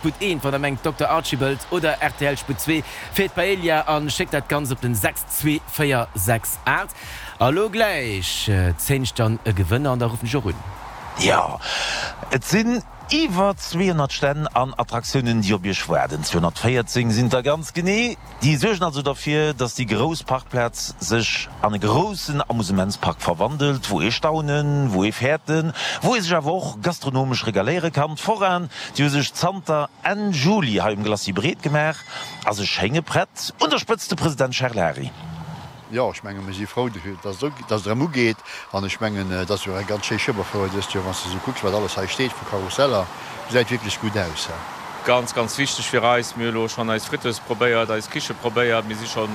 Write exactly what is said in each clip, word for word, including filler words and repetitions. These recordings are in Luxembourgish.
Sputt eent, wann der mengt Dokter Archibald oder rtl Sputt zwee fir d'Paella an schéckt dat Ganzt op den sechs zwee véier sechs aacht. A lo gläich zéien ech dann e Gewënner an da ruffen ech och un. Jo, et sinn iwwer zweehonnert Stänn an Attraktiounen, déi op Iech waarden. zweehonnertvéierzéng sinn et der ganz genee. Déi suergen also derfir, dass déi grouss Parkplaz sech an e groussen Amusementspark verwandelt, wou ee staunen, wou ee fäerten, wou ee sech awer och gastronomesch regaléiere kann. D'Foraen, déi hu sech zanter Enn Juli hei um Glacis breet gemaach a se schénge prett. Un der Spëtzt de President Charles Hary. Jo, ech mengen, mir si frou, dass et erëm ugeet. An ech mengen, et ass jo eng ganz schéi Schueberfouer dëst Joer, wann s de esou kucks, wat alles hei steet vu Karusseller. Gesäit wierklech gutt aus. Ganz, ganz wichteg fir eis. Mir hu lo schonn eis Friteuse probéiert, eis Kiche probéiert. Mir si scho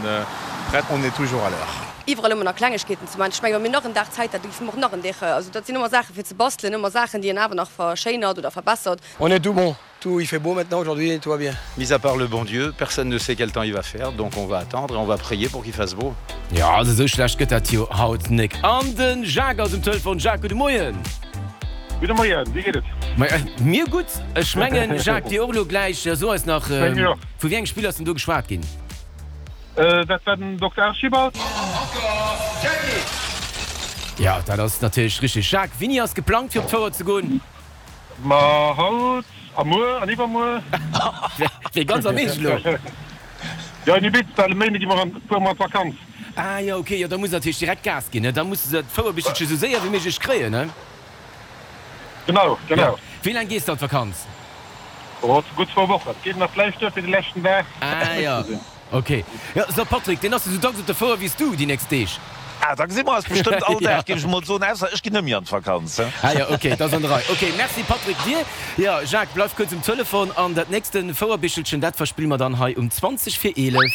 prett. On est toujours à l'heure. Iwwerall hu mer nach Klengegkeeten ze maachen. Ech mengen, wa mir nach en Dag Zäit hätten, géife mer och nach en Deeg. Also dat sinn ëmmer Saache fir ze bastelen, ëmmer Saachen, déi een awer nach verschéinert oder verbessert. On est tout bon. Tout, il fait beau maintenant aujourd'hui, tout va bien. Mis à part le bon Dieu, personne ne sait quel temps il va faire, donc on va attendre et on va prier pour qu'il fasse beau. Jo, also esou schlecht gëtt dat jo haut nek. An de Jacques ass um Telefon. Jacques, gudde Moien. Gudde Moien, wéi geet et? Mir gutt. Ech mengen, Jacques, dir och elo gläich. So eis nach, vu wéi engem Spill ass denn do geschwat ginn? Dat war den Dokter Archibald. Jo, dat ass natierlech richteg. Jacques, wéini ass geplangt fir op d'Fouer ze goen? Ma haut a muer an iwwermuer. Wéi ganz am Eescht elo? Jo, in Ibiza, well e Méinde gi mer an, fuere mer an d'Vakanz. Ah jo, ok, jo da muss natierlech direkt Gas ginn, ne? Da muss de d'Fouerbichelche sou séier wéi méiglech kréien, ne? Genau, genau. Wéi laang gees de an d'Vakanz? Oh, gutt zwou Wochen. Geet nach vläicht duer fir de leschten Dag Ah jo. fit ze sinn. Ok. Jo, so Patrick, deen ass jo sou dacks op der Fouer wéi s du déi nächst Deeg. Ah, da gesi mer eis bestëmmt all Dag, géif ech emol soen, ausser ech ginn net méi an d'Vakanz. Ah jo, ok, dat ass an der Rei. Ok, merci Patrick, dir. Jo, Jacques, bleif kuerz um Telefon an dat nächste Fouerbichelchen, dat verspille mer dann hei um zwanzeg vir eelef.